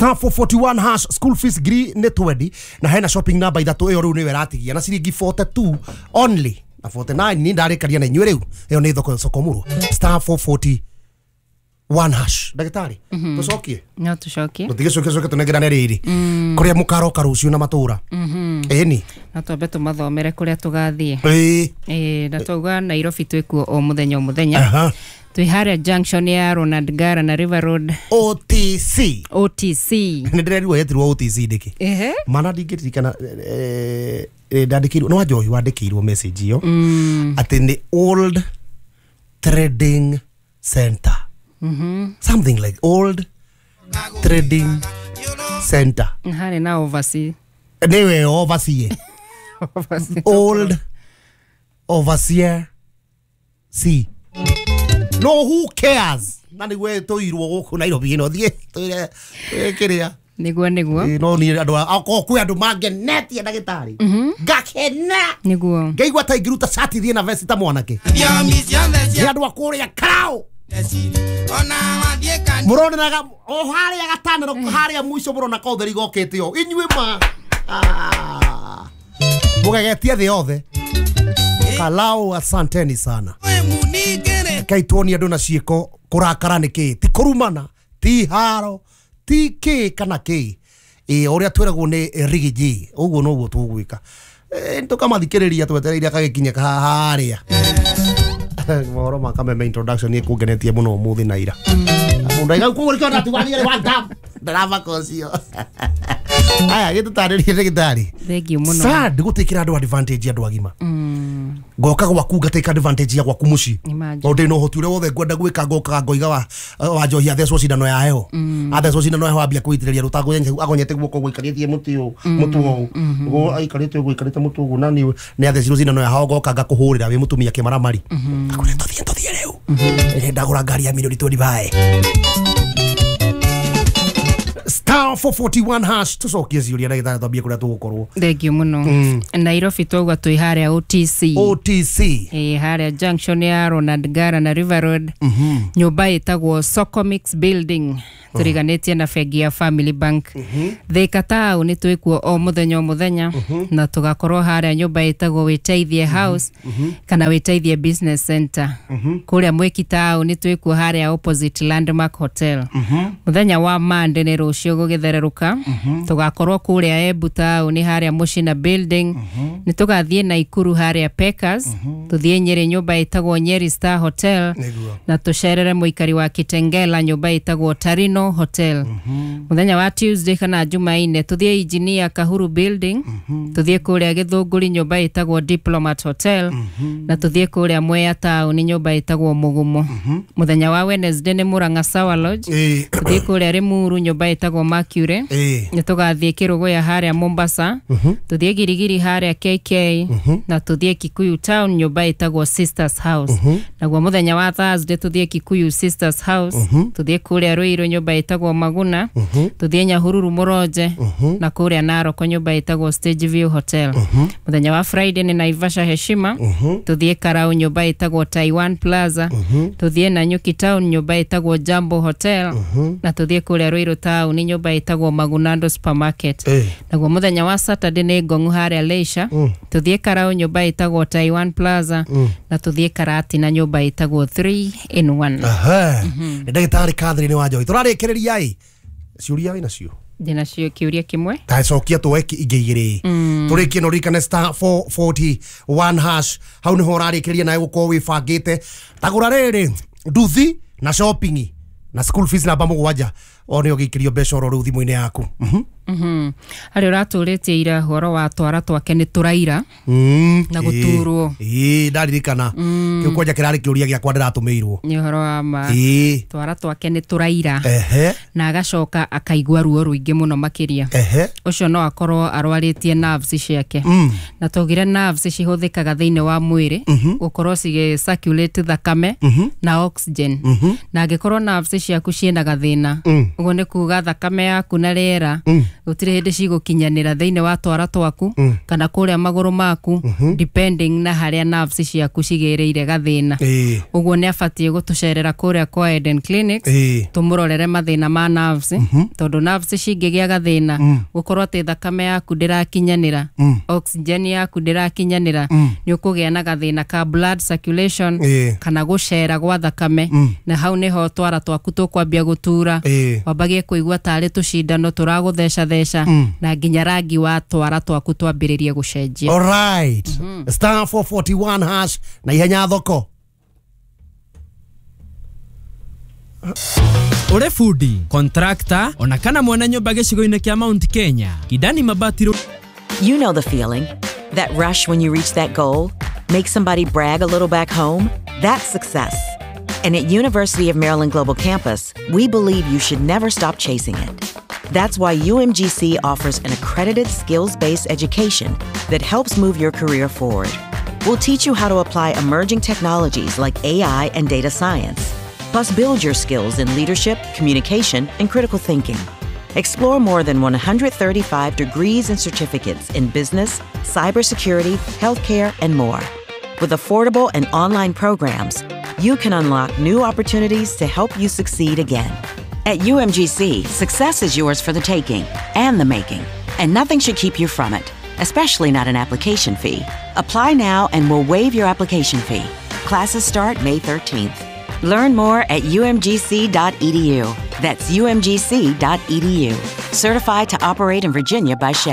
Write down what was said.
Star 441 hash, school fees ngiri nĩ 20 na hena shopping number ithatũ. Ĩyo rĩu nĩyo ĩratigia na ciringi 42 only na 49. Ni ndarĩkaria na inyuĩ rĩu, ĩyo nĩ thoko sokomurwo. Star 441 hash. Ndagĩtarĩ, tũcokie? No tũcokie. Tũtigĩcokie, coke tũnengerane rĩrĩ kũrĩa mũkaroka rũciũ na matũra ĩni. No twambe tũmathomere kũrĩa tũgathiĩ. Ĩĩ. Ĩĩ, na twauga Nairobi twĩkuo o mũthenya o mũthenya. Twĩ harĩa junction ya Ronald Ngara na River Road. OTC. OTC. Nĩ ndĩrerirwo yetirwo OTC ndĩkĩ? Ehe. Mana ndingĩririkana, ndandĩkĩirwo no wanjohi wandĩkĩirwo message ĩyo atĩ nĩ Old Trading Center, something like Old Trading Center. Harĩ na oversea. Nĩwe overseer. Oversea. Old Overseer C, no, who cares, na nĩguo tũirwo gũkũ Nairobi ĩno thiĩ twĩre kĩrĩa. Nĩguo. Ĩ, no niĩ andũ akorwo kwĩ andũ mangenetie, ndagĩtarĩ, ngakena. Ngaigua ta ingĩruta cati thiĩ na vesti ta mwanake. Nĩ andũ a kũrĩa karao mũronenaga o harĩa gatanero harĩa mũico, mũrona kotheri gokĩte o inyuĩ ma. Ah. Mũgegetie thĩ yothe. Kalau, asanteni sana. Rekei tuonie andũ na ciĩko kũrakara nĩ kĩ, ti kũrumana, ti haro, ti kĩ kana kĩ. Ĩ ũrĩa twĩragwo nĩ Riggy, ũguo noguo tũgwĩka. Tũkamathikĩrĩria twetereire agagĩkinya harĩa mohoro ma Kameme introduction. Nĩ kũngenetie mũno ũmũthĩ na ira mũndũ aiga koguo nĩkĩo ndatiganire one time ndarabaka ũcio. Aya, gĩtũtarĩrie, ndagĩtarĩ. Thank you mũno. Sad gũtĩkĩra andũ advantage, andũ agima. Ngoka gwaku ngatĩka advantage ya gwaku mũciĩ. Imagine. Tondũ ndĩ na ũhoti ũrĩa wothe ngwenda gwĩka, ngokaga ngoiga wa wa njohi athecwo cindano ya heho, athecwo cindano ya heho, ambia kũitĩrĩria rũtango agonyete guoko gũikarĩtie mũtĩ ũũ, mũtũ ũũ ũguo aikarĩte ũguo, aikarĩte mũtũ ũguo, na nĩ athecirwo cindano ya heho, ngoka ngakũhũrĩra wĩ mũtumia kĩmaramari, ngakwĩra tũthiĩ, tũthiĩ rĩu. Ndagũra ngari ya milioni 25. Star 441 hash, tũcokie ciũria, ndagĩtarĩ, twambie kũrĩa tũgũkorwo. Thank you mũno. Nairobi twauga twĩ harĩa OTC. OTC. Ĩ, harĩa junction ya Ronald Ngara na River Road, nyũmba ĩtagwo Socomix Building, tũriganĩtie na bengi ya Family Bank. Thika taũni twĩkuo o mũthenya o mũthenya, na tũgakorwo harĩa nyũmba ĩtagwo Wĩteithie House kana Wĩteithie Business Center. Kũrĩa Mwĩki taũni twĩkuo harĩa opposite Landmark Hotel. Mũthenya wa Monday, nĩ rũciũ gũgĩthererũka, tũgakorwo kũrĩa Embu taũni harĩa Mũcina Building. Nĩ tũgathiĩ Naikuru harĩa Pekas, tũthiĩ Nyĩrĩ nyũmba ĩtagwo Nyeri Star Hotel, na tũcerere mũikari wa Kitengela nyũmba ĩtagwo Tarino Hotel. Mũthenya wa Tuesday kana Jumaine, tũthiĩ Engineer Kahuru Building, tũthiĩ kũrĩa Gĩthũngũri nyũmba ĩtagwo Diplomat Hotel, na tũthiĩ kũrĩa Mwea taũni nyũmba ĩtagwo Mũgumo. Mũthenya wa Wednesday nĩ Murang'a Sour Lodge, tũthiĩ kũrĩa Limuru nyũmba ĩtagwo Mercury. Nĩ tũgathiĩ Kĩrũgũya harĩa Mombasa, tũthiĩ Girigiri harĩa KK, na tũthiĩ Kikuyu Town nyũmba ĩtagwo Sisters House. Naguo mũthenya wa Thursday tũthiĩ Kikuyu Sisters House, tũthiĩ kũrĩa Ruiru nyũmba ĩtagwo Maguna, tũthiĩ Nyahururu Mũronje, na kũrĩa Naroko nyũmba ĩtagwo Stage View Hotel. Mũthenya wa Friday nĩ Naivasha Heshima, tũthiĩ Karau nyũmba ĩtagwo Taiwan Plaza, tũthiĩ Nanyuki Town nyũmba ĩtagwo Jambo Hotel, na tũthiĩ kũrĩa Ruiru Town nyũmba ĩtagwo Magunando Supermarket. Naguo mũthenya wa Saturday nĩ Ngong'u harĩa Leisure, tũthiĩ Karau nyũmba ĩtagwo Taiwan Plaza, na tũthiĩ Karatina nyũmba ĩtagwo 3 in 1. Aha. Nĩ ndagĩtarĩ Catherine wa Njohi. Tũrarĩkĩrĩria ĩ ciũria wĩ nacio? Ndĩnacio kĩũria kĩmwe. Tacokia tuoe ingĩ igĩrĩ tũrĩkie. No ririkane star 441 hash, hau nĩho ũrarĩkĩrĩria nawe gũkorwo wĩbangĩte. Tagũra rĩrĩ nduthi na shopping na school fees namba 7, o nĩ ũgĩikĩrio mbeca oro rĩu thimũ-inĩ yaku. Harĩ ũratũrĩtie ira ũhoro wa twara twake nĩ tũraira na gũturwo. Ĩĩ, ndaririkana kĩu kwanja kĩrarĩ kĩũria gĩakwa ndĩratũmĩirwo. Nĩ ũhoro wa ma. Twara twake nĩ tũraira na agacoka akaigua ruo rũingĩ mũno makĩria. Ũcio no akorwo arwarĩtie nerves ciake. Na twaugire nerves cihũthĩkaga thĩinĩ wa mwĩrĩ gũkorwo cigĩ circulate thakame na oxygen, na angĩkorwo nerves ciaku ciĩna gathĩna, ũguo nĩ kuga thakame yaku na rĩera Gũtirĩ hĩndĩ cigũkinyanĩra thĩinĩ wa twara twaku kana kũrĩa magũrũ maku, depending na harĩa nerves ciaku cigĩrĩire gathĩna. Ũguo nĩ abatiĩ gũtũcerera kũrĩa kwa Eden Clinics, tũmũrorere mathĩna ma nerves, tondũ nerves cingĩgĩa gathĩna, gũkorwo atĩ thakame yaku ndĩrakinyanĩra, oxygen yaku ndĩrakinyanĩra, nĩ ũkũgĩa na gathĩna ka blood circulation kana gũcera gwa thakame, na hau nĩho twara twaku tũkwambia gũtura, wambagie kũigua tarĩ tũcindano tũragũthecatheca, na nginya rangi wa twara twaku twambĩrĩrie gũcenjia. Alright. *441# na ihenya thoko. Uri fundi, contractor, ona kana mwana nyumba gĩcigo-inĩ kĩa Mount Kenya, Kidani Mabati. You know the feeling. That rush when you reach that goal, make somebody brag a little back home. That's success. And at University of Maryland Global Campus, we believe you should never stop chasing it. That's why UMGC offers an accredited skills-based education that helps move your career forward. We'll teach you how to apply emerging technologies like AI and data science, plus build your skills in leadership, communication, and critical thinking. Explore more than 135 degrees and certificates in business, cybersecurity, healthcare, and more. With affordable and online programs, you can unlock new opportunities to help you succeed again. At UMGC, success is yours for the taking and the making, and nothing should keep you from it, especially not an application fee. Apply now and we'll waive your application fee. Classes start May 13th. Learn more at umgc.edu. That's umgc.edu. Certified to operate in Virginia by Chef.